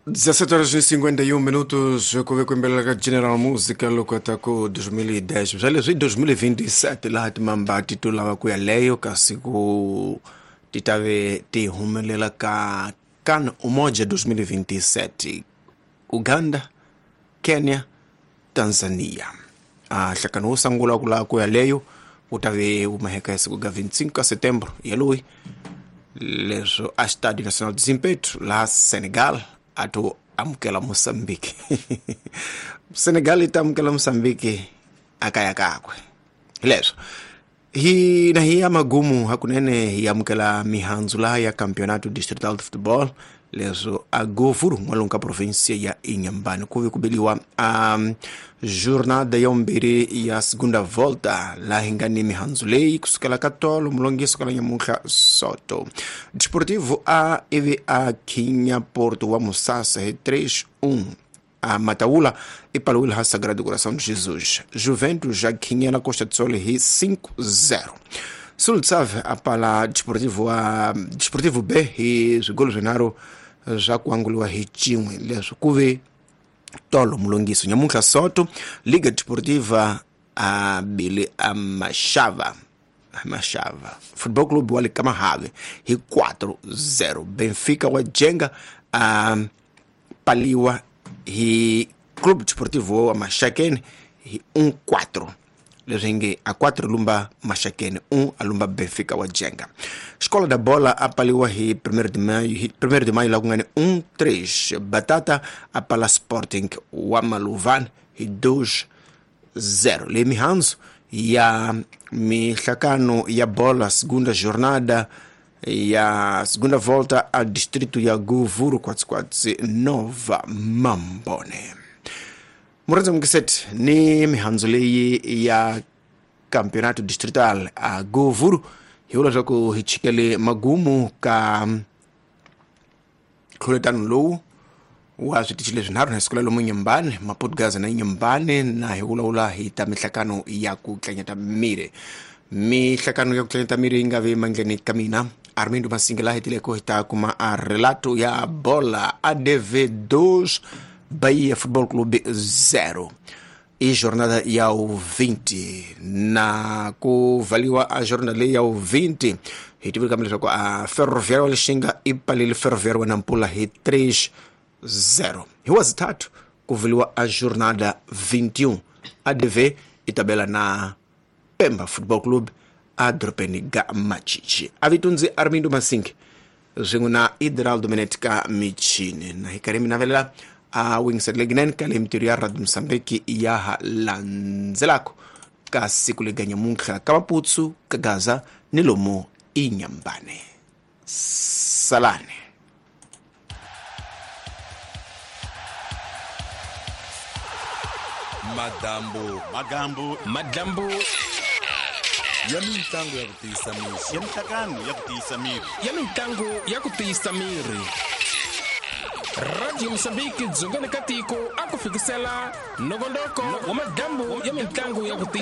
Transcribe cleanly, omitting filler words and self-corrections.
17 horas e 51 minutos, ku ve ku yimbelela ka General Musica loko ta ku 2010 bya leswi 2027 laha timambati to lava ku ya leyo kasi ku ti ta ve ti humelela ka CAN Umoja 2027, Uganda, Kenya, Tanzania. A nhlakano wo sungula ku lava ku ya leyo wu ta ve wu maheka ya siku ga 25 ka setembro yaloyi, leswo a Estádio Nacional de Zimpeto laha Senegal a to amukela Mozambique. Senegal yi ta amukela Mozambique a kaya kakwe. Hi leswo hi na hi ya magumu hakunene hi amukela mihandzu laha ya Campeonato Distrital de Futebol, leswo a Govuru n'walungu ka provinsia ya Inhambane ku ve ku beliwa a jornada ya vumbirhi ya segunda volta, laha hi nga ni mihandzu leyi kusukela ka tolo mulongiso ka la nyamuntlha soto Desportivo a ivi a khinya Porto wa Musasa hi 3-1. A Mataula i paliwile ha Sagrado Coração de Jesus. Juventus já khinyela Costa do Sol hi 5-0. Sultsave a pala Desportivo wa Desportivo B hi swigolo swinharhu swa ku anguliwa hi cin'we, leswi ku ve tolo mulongiso. Nyamuntlha soto Liga Desportiva a bile a Mashava Mashava Football Club wa le Kamahave hi 4-0. Benfica wa Jenga a paliwa hi Club Desportivo wa Maxakeni hi 1-4, leswi nge a 4 lumba Maxakeni, 1 a lumba Benfica wa Jenga. Xikola da Bola a paliwa hi Primeiro de Maio, hi Primeiro de Maio la ku nga ni 1-3. Batata a pala Sporting wa Maluvan hi 2-0. Leyi mihandzu ya mihlakano ya bola segunda jornada ya segunda volta a distrito ya Govuro Kwatsikwatsi Nova Mambone. Murhandza mukiseti ni mihandzu leyi ya Campeonato Distrital a Govuro, hi vula leswaku hi chikele magumu ka ntlhuletano lowu wa switichi leswinharhu na siku la lomu Nyumbani, Maputo na Nyumbani, na hi vulavula hi ta mihlakano ya ku tlanyeta miri. Mihlakano ya ku tlanyeta miri yi nga vi mandleni ka mina Armindo Masinga, laha hetileko hi ta kuma a relato ya bola ADV 2 Bahia Football Club 0 i jornada ya u20, na ku valiwa a jornada leyi ya u20 hi tivile kambe leswaku a Ferroviário wa Lixinga i palile Ferroviário wa Nampula hi 3-0. Hi wazithathu ku vuliwa a jornada 21, ADV i tabela na Pemba Football Club a dorobeni ga Machichi. A vitundzi Armindo Masingi swin'we na Idraldo Minet ka michini, na hi karhi mi navelela a wingisele leginene ka le mintirho ya Radio Mosambiki ya ha landzelako ka siku lega nyamuntlha ka Maputsu, ka Gaza ni lomu Inyambane. Salani. Madambu, magambu, madlambu ya mitlangu ya ku tiyisa miri, ya mihlakano ya ku tiyisa miri, ya mitlangu ya ku tiyisa miri. Radio Mosambiki dzongeni ka tiko a ku fikisela nongonoko wa madlambu ya mitlangu ya ku